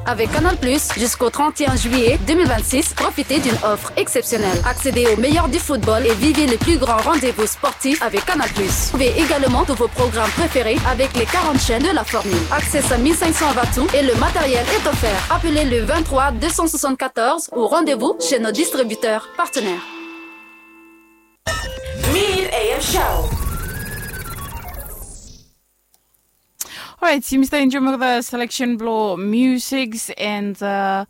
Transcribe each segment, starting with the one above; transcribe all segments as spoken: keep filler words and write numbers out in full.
Avec Canal Plus, jusqu'au trente et un juillet deux mille vingt-six, profitez d'une offre exceptionnelle. Accédez au meilleur du football et vivez les plus grands rendez-vous sportifs avec Canal Plus. Trouvez également tous vos programmes préférés avec les quarante chaînes de la formule. Accès à mille cinq cents watts et le matériel est offert. Appelez le vingt-trois deux cent soixante-quatorze ou rendez-vous chez nos distributeurs partenaires. Mid A M Show. Alright, yumi stap enjoy olgeta selection blong musics and uh,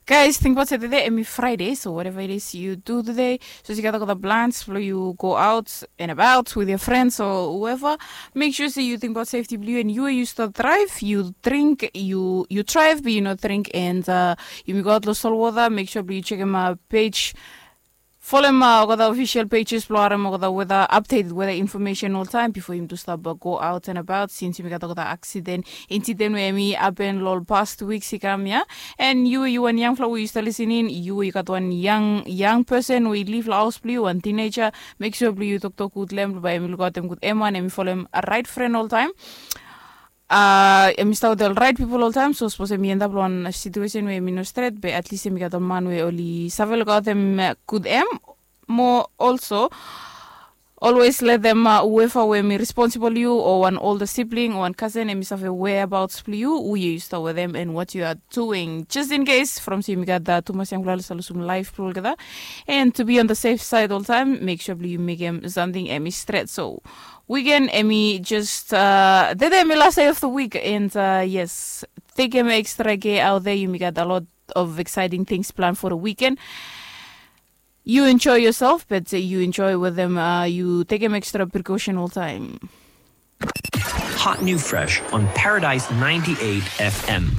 guys, tingbaot se tede hemi Friday, so whatever it is you do today, sapos yu gat olgeta plans blong yu go out and about with your friends or whoever, make sure se yu tingbaot safety blong yu and yu we yu stap drive, yu drink, yu yu drive be yu no drink and uh, yumi go out long solwota, make sure blong yu chekem uh, page folem olgeta official pages blong harem olgeta weda updated weda information oltaem bifo yumi tu stap go out and about since yumi gat olgeta aksiden, incident we hemi hapen long ol past weeks i kam ya. And yu yu wan yangfala we yu stap lisening, yu yu gat wan yang yang person we i liv long haos blong yu, wan teenager, make sure blong yu toktok gud long em blong bae hemi lukaotem gud, em wan hemi folem right friend oltaem. Uh, hemi stap wetem ol rait pipol oltaem, so sapos hemi endap long wan situesen we hemi no stret, be atlis hemi gat ol man we oli save lukaotem gud hem. Mo olso, always letem uh, whoever we hemi responsibol yu o wan olda sibling o wan kasen hemi save whereabouts blong yu, hu yu yu stap wetem and what you are doing, just in case from se yumi gat uh, tumas yangfala oli save lusum laef blong olgeta. And to be on the safe side oltaem, make sure blong yu mekem samting hemi stret. So weekend hemi just uh, tede hemi last day of the week and uh, yes, tekem extra care out there, yumi gat a lot of exciting things planned for the weekend. You enjoy yourself, but uh, you enjoy with them. Uh, you take them extra precaution all time. Hot new fresh on Paradise ninety-eight F M.